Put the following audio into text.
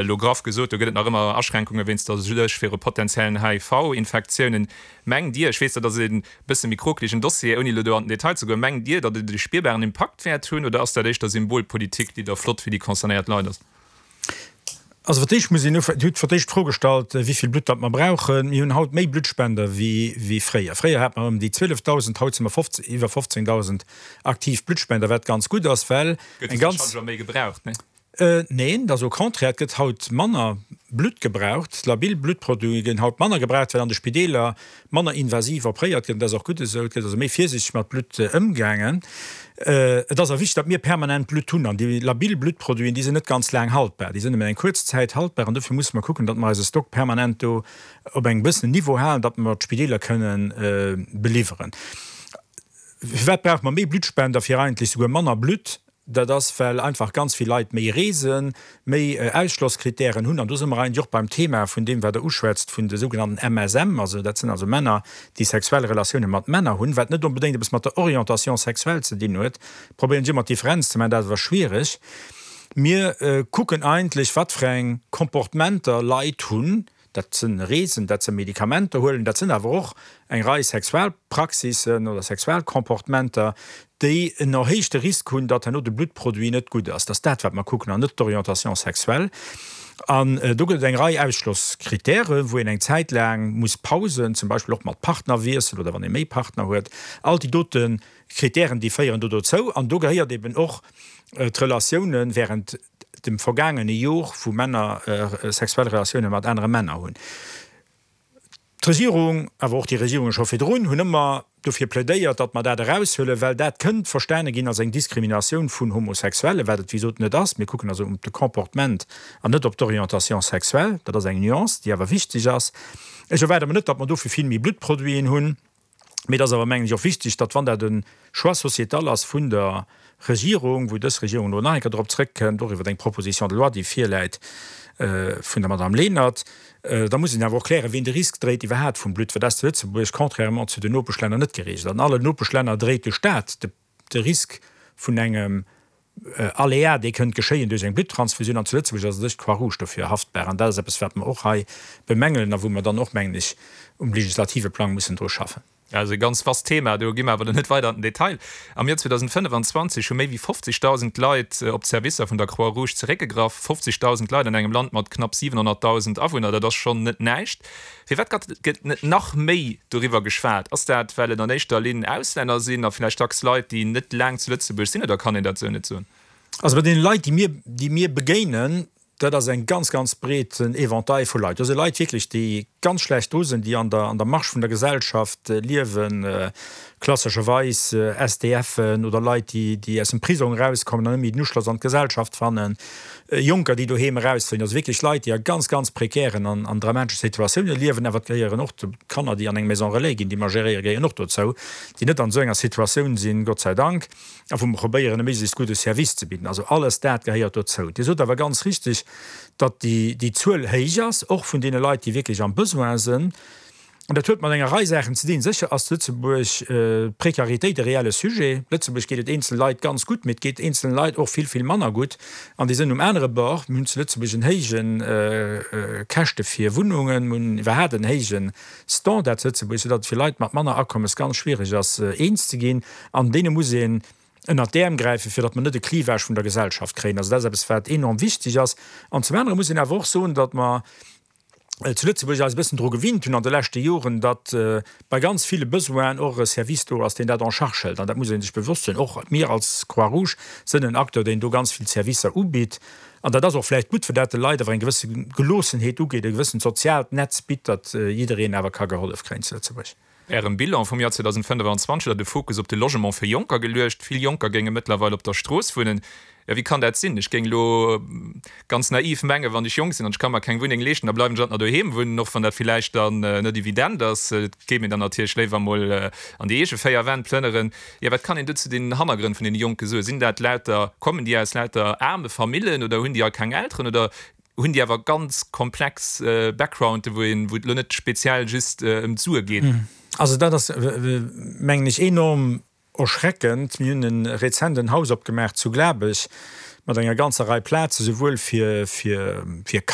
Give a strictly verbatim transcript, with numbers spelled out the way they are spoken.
elo graff gesot, do gëtt et nach ëmmer Aschränkunge wéinst der Suerg viru potenziellen H I V-Infektiounen. Mengt Dir, ech weess, dat ass e bësse méi krokelegen Dossier, ouni elo do an den Detail ze goen, mengt Dir, datt et e spierbaren Impakt wäert hunn oder ass dat éischter Symbolpolitik, déi da flott fir déi concernéiert Leit ass? Also fir d'éischt muss een ufänken, Dir hutt fir d'éischt d'Fro gestallt, wéi vill Blutt datt mer brauchen. Mir hunn haut méi Bluttspender wéi wéi fréier. Fréier hate mer ëm déi zwielefdausend, haut si mer iwwer fofzéngdausend aktiv Bluttspender, wat ganz gutt ass, well eng ganz. Gëtt et méi gebraucht, ne? Neen, et ass au contraire, et gëtt haut manner Blutt gebraucht. Labil Bluttproduite ginn haut manner gebraucht, well an de Spideeler manner invasiv opréiert gëtt. Dat ass och gutt esou. Et gëtt also méi virsiichteg mat Blutt ëmgaangen. Et ass awer wichteg, datt mir permanent Blutt hunn. An déi labil Bluttproduiten, déi sinn net ganz laang haltbar. Déi sinn nëmmen eng kuerz Zäit haltbar. An dofir musse mer kucken, datt mer eise Stock permanent do op engem gewëssenen Niveau halen, datt mer d'Spideeler kënnen beliwweren. Firwat brauche mer méi Bluttspender fir eigentlech souguer manner Blutt? Dat ass, well einfach ganz vill Leit méi reesen, méi Ausschlosskritären hunn. An do si mer eigentlech och beim Thema vun deem, wat Der uschwätzt, vun de sougenannten M S M. Also dat sinn also Männer, déi sexuell Relatioune mat Männer hunn, wat net onbedéngt eppes mat der Orientation sexuelle ze dinn huet. Probéieren ech ëmmer d'Differenz ze maachen, dat ass awer schwiereg. Mir kucken eigentlech, wat fir eng Comportementer Leit hunn. Dat sinn Reesen, dat sinn Medikamenter huelen, dat sinn awer och eng Rei Sexualpraxissen oder Sexualcomportementer, déi en erhéichte Risk hunn, datt herno de Bluttproduit net gutt ass. Dat ass dat, wat mer kucken, an net d'Orientation sexuelle. An do gëtt et eng Rei Ausschlosskritären, wou een eng Zäit laang muss pausen, zum Beispill och mat Partnerwiessel oder wann ee méi Partner huet. All déi dote Kritären, déi féieren do dozou. An do gehéiert eben och d'Relatiounen während dem vergaangene Jor, wou Männer sexuell Relatioune mat anere Männer hunn. D'Regierung, awer och déi Regierunge scho virdrun, hunn ëmmer dofir plädéiert, datt mer dat eraushuelen, well dat kënnt verstane ginn als eng Diskriminatioun vun Homosexuellen, wat et wéi gesot net ass. Mir kucken also op de Comportement an net op d'Orientation sexuelle. Dat ass eng Nuance, déi awer wichteg ass. Ech erwaarde mer net, datt mer dofir vill méi Bluttproduiten hunn. Mee et ass awer, mengen ech, och wichteg, datt, wann dat e Choix sociétal ass vun der Regierung, wou dës Regierung elo nach eng Kéier drop zrëckkënnt, och iwwer eng Proposition de loi, déi virläit vun der Madame Lenert, da muss een awer och klären, wien de Risk dréit iwwerhaapt vum Blutt, well dat ass zu Lëtzebuerg, contrairement zu den Nopeschlänner, net geregelt. An allen Nopeschlänner dréit de Stat de Risk vun engem Aléa, dee kënnt geschéien duerch eng Blutttransfusioun, an zu Lëtzebuerg ass u sech d'Croix-Rouge dofir haftbar. An dat ass eppes, wat mer och hei bemängelen a wou mer dann och, mengen ech, um legislative Plang mussen dru schaffen. Also e ganz vast Thema, do gi mer awer net weider an den Detail. Am Joer zweedausendfënnefenzwanzeg hu méi wéi fofzegdausend Leit op d'Servicer vun der Croix-Rouge zeréckgegraff. Fofzegdausend Leit an engem Land mat knapp siwenhonnertdausend Awunner, dat ass schonn net näischt. Firwat gëtt net nach méi doriwwer geschwat? Ass dat, well et an éischter Linn Auslänner sinn a vläicht dacks Leit, déi net laang zu Lëtzebuerg sinn, oder kann een dat esou net soen? Also bei deene Leit, déi mir, déi mir begéinen, dat ass eng ganz, ganz breeten Éventail vu Leit. Do si Leit wierklech, déi ganz schlecht dru sinn, déi an der, an der Marge vun der Gesellschaft liewen, klassescherweis S D Fen oder Leit, déi, déi aus dem Prisong erauskommen an net méi den Uschloss an d'Gesellschaft fannen, Jonker, déi doheem erausfléien. Also wierklech Leit, déi a ganz, ganz prekären an, an dramatesche Situatioune liewen. Awer et gehéieren och d'Kanner, déi an eng Maison relais ginn, déi mer geréieren, gehéieren och dozou, déi net an esou enger Situatioun sinn, Gott sei Dank, a wou mer probéieren, e méiglechst gudde Service ze bidden. Also alles dat gehéiert dozou. Dir sot awer ganz richtig, datt déi, déi Zuel héich ass, och vun deene Leit, déi wierklech am Besoin sinn. An dat huet mat enger Rei Saachen ze dinn. Sécher ass zu Lëtzebuerg d'Prekaritéit e reelle Sujet. Lëtzebuerg geet et eenzele Leit ganz gutt, mee et geet eenzele Leit och vill, vill manner gutt. An déi sinn um anere Bord. Mir hunn zu Lëtzebuerg en héije Käschte fir Wunnungen, mir hunn iwwerhaapt en héije Standard zu Lëtzebuerg, soudatt et fir Leit mat manner Akommes ganz schwiereg ass, eens ze ginn. An deene muss een ënnert d'Äerm gräifen, fir datt mer net e Clivage vun der Gesellschaft kréien. Also dat ass eppes, wat enorm wichteg ass. An zum anere muss een awer och soen, datt mer zu Lëtzebuerg eis e bëssen dru gewinnt hunn an de leschte Joren, datt bei ganz ville Besoinen och e Service do ass, deen dat en charge hëlt. An dat muss ee sech bewosst sinn. Och mir als Croix-Rouge sinn en Acteur, deen do ganz vill Servicer ubitt. An dat ass och vläicht gutt, fir dat de Leit awer eng gewësse Geloossenheet ugeet, e gewëssent soziaalt Netz bitt, datt jiddereen awer ka gehollef kréien zu Lëtzebuerg. Ärem Bilan vum Joer zweedausendfënnefenzwanzeg hutt Der de Fokus op de Logement fir Jonker geluecht. Vill Jonker géinge mëttlerweil op der Strooss wunnen. Jo, wéi kann dat sinn? Ech géing elo ganz naiv mengen, wann ech jonk sinn an ech ka mer keng Wunneng leeschten, da bleiwen ech alt nach doheem wunnen, och wann dat villäicht dann net evident ass. Et géif een dann natierlech léiwer emol an déi eege véier Wänn plënneren. Jo, wat kann een do zu den Hannergrënn vun deene Jonke soen? Sinn dat lauter, kommen déi aus lauter aarme Famillen oder hunn déi all keng Elteren oder hunn déi awer ganz komplex Backgrounde, wou een, wou et elo net speziell just ëm d'Sue geet? Also dat ass, mengen ech, enorm erschreckend. Mir hunn e rezent en Haus opgemaach zu Glabech mat enger ganzer Rei Plaze souwuel fir fir fir